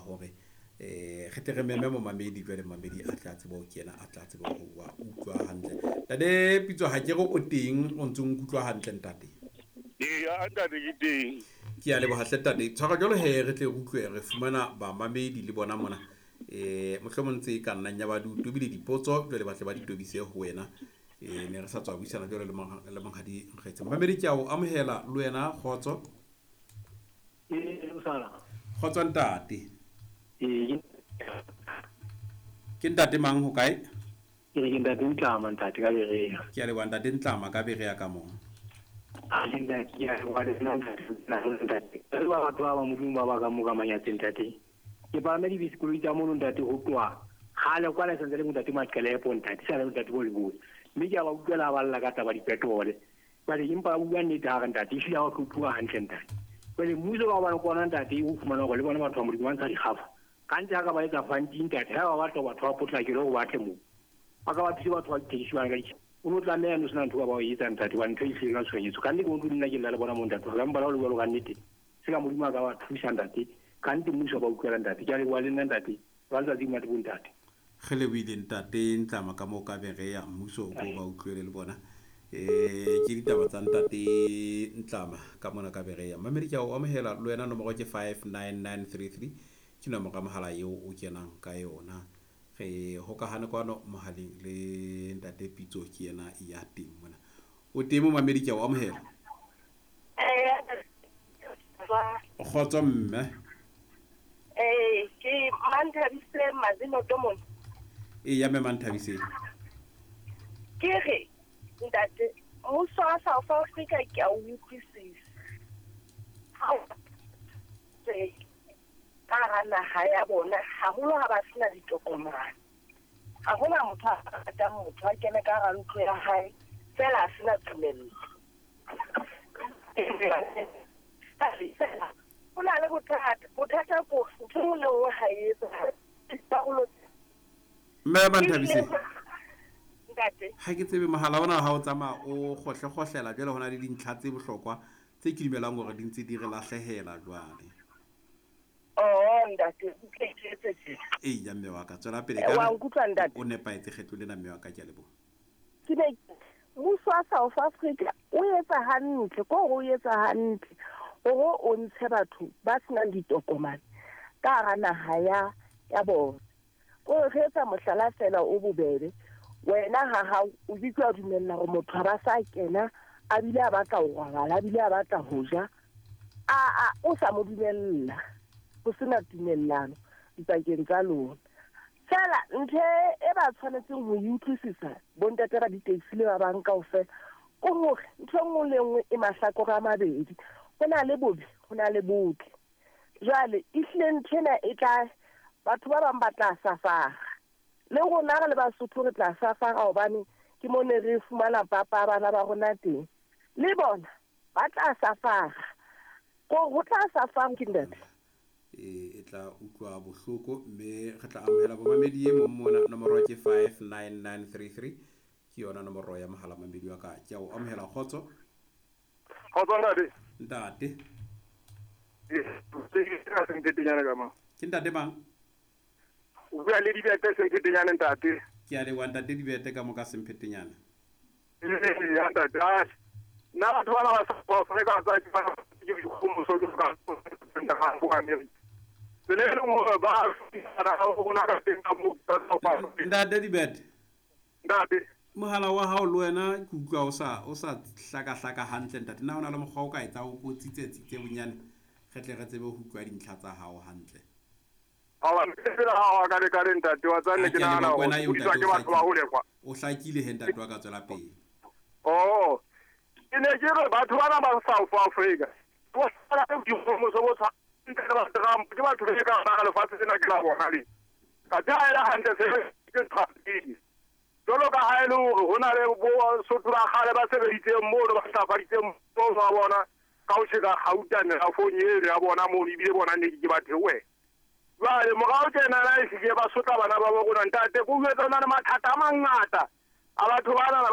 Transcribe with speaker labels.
Speaker 1: hore re tle re meme momamedi, jwale momamedi a tla tsebe ho kena, a tla tsebe ho wa utlwa hantle. Ntate Pitso, ha ke re o teng, o ntse o nkutlwa hantle ntate?
Speaker 2: Eya ntate, ke teng.
Speaker 1: Ke a leboha hle ntate. Tshwara jwalo he, re tle re utlwe, re fumana bamamedi le bona mona. Mohlomong tse ka nnang ya ba di tobile dipotso, jwale ba tle ba di tobise ho wena. Ne re sa tswa buisana jwale le monghadi Nkgetse. Momamedi, ke a o amohela le wena, kgotso. Kgotso ntate. Ke ntate mang, ho kae?
Speaker 3: Ke re ke ntate Ntlama, ntate ka Berea.
Speaker 1: Ke a leboha ntate Ntlama ka Berea ka moo.
Speaker 3: A ke ntate, ke a leboha le nna ntate, ntate. Re ba batho ba ba Modimo ba ba ka mo ka manyatseng ntate. Ke palame dibese, koloi tsa mono ntate, ho tloha kgale kwale santse le ntate Maqelepo ntate, sa le ntate bo Leboe. Mme ke a ba utlwela ba lla ka taba dipetrole. Jwale empa ba bua nnete ha re ntate, ehlile ha o hlophuwa hantle ntate. Jwale mmuso ka hobane ke ona ntate o fumana hore le bona batho ba Modimo ba ntsha dikgafa. Gantsi ha ka ba etsa fanti ntate, ha ba batla batho ba potlakele hore ba tle moo. Ba ka ba thuse batho ba ditekesi bana ka ditjhe. O no tlameha no sena ntho ka ba o etsa ntate, hobane ntho e hlile ka tshohanyetso. Ka nnete ke utlwe nna ke lla le bona moo ntate, ka mpa le ho le jwalo ka nnete. Se ka Modimo a ka ba thusa ntate, ka nnete mmuso ba utlwela ntate. Ke a leboha le nna ntate, ba letsatsi monate bo ntate.
Speaker 1: Re lebohile ntate Ntlama ka moo ka Berea, mmuso o ko ba utlwele le bona. Ke ditaba tsa ntate Ntlama ka mona ka Berea. Mamedi, ke a o amohela le wena, nomoro ke 59933, ke nomoro ya mohala eo o kenang ka yona. Re hokahane kwano mohaleng le ntate Pitso, ke yena ya teng mona. O teng momamedi, ke a o amohela. Kgotso mme.
Speaker 4: Ke Manthabise Mazino mona.
Speaker 1: Eya mme Manthabise.
Speaker 4: Ke re ntate, mmuso wa South Africa ke a o utlwisisa. Ka hara naha ya bona, haholo ha ba sena ditokomane. Ha hona motho a ratang motho a kene ka hara ntlo ya hae fela a sena tumello. Ho na le bothata, bothata ko ntho e nngwe le nngwe ha e etsahale. Dikarolo
Speaker 1: Mme Manthabise.
Speaker 4: Ntate.
Speaker 1: Ha ke tsebe mohala ona ha o tsamaya o kgohle-kgohlela, jwale ho na le dintlha tse bohlokwa tse ke dumelang hore di ntse di re lahlehela jwale.
Speaker 4: Oh ntate, o ke etse tje.
Speaker 1: Eya mme wa ka, tswela pele.
Speaker 4: Wa nkutlwa ntate?
Speaker 1: O nepahetse kgetlo lena mme wa ka, ke a leboha.
Speaker 4: Ke ne mmuso wa South Africa o etsa hantle, ko o etsa hantle hore o ntshe batho ba senang ditokomane ka hara naha ya bona. O re etsa mohlala fela o bobebe, wena ha hao o ke wa dumella hore motho ha ba sa kena, a bile a batla ho robala, a bile a batla ho ja, a o sa mo dumella, ho sena tumellano dipakeng tsa lona. Fela ntho e ba tshwanetseng ho e utlwisisa bontate ba di-taxi le ba bang kaofela ke hore ntho e nngwe le nngwe e mahlakore a mabedi, ho na le bobe, ho na le botle. Jwale ehlile ntho ena e tla, batho ba bang ba tla safara, le rona re le Basotho re tla safara, hobane ke mo ne re fumana papa bana ba rona teng, le bona ba tla safara, ko ho tla safara ke ntate.
Speaker 1: E tla utlwa bohloko, mme re tla amohela bomamedi e mong mona. Nomoro ke 59933, ke yona nomoro ya mohala. Mamedi wa ka, ke a o amohela, kgotso.
Speaker 2: Kgotso ntate.
Speaker 1: Ntate.
Speaker 2: Ke Semphetenyane ka mo.
Speaker 1: Ke ntate mang?
Speaker 2: O bua le Dibete Semphetenyane ntate.
Speaker 1: Ke a leboha ntate Dibete ka mo ka Semphetenyane.
Speaker 2: Eya ntate, nna batho bana ba South Africa tsa ke dikgomoso ke ka bo America. Tsela e leng hore ba na rona ka teng ka mo South Africa.
Speaker 1: Ntate Dibete.
Speaker 2: Ntate.
Speaker 1: Mohala wa hao le wena ke utlwa o sa hlaka-hlaka hantle ntate. Na o na le mokgwa o ka etsa o ko tsitse-tsitse bonyane, re tle re tsebe ho utlwa dintlha tsa hao hantle?
Speaker 2: Awa, fela ha wa ka le ka re ntate wa tsa ne ke nahana hore o ke batho ba hole kwa.
Speaker 1: O hlakile he ntate wa ka, tswela pele.
Speaker 2: Oh, ke ne ke re batho bana ba South Africa bo sala le dikgomoso bo tshwana le ba Trump, ke batho be ka ba lefatshe lena ke la bona le. Ka tha ela hantle se ke Trump. Jwalo ka ha e le hore ho na le bo Sotho ba kgale ba sebeditseng mono, ba hlafaditseng mono wa bona ka ho tjheka kgauta merafong eno ya bona mono, ebile bona ne ke ba theohe. Jwale morao tjena na ehlile ba sotla bana ba bo rona ntate, ke utlwetse ho na le mathata a mangata a batho bana.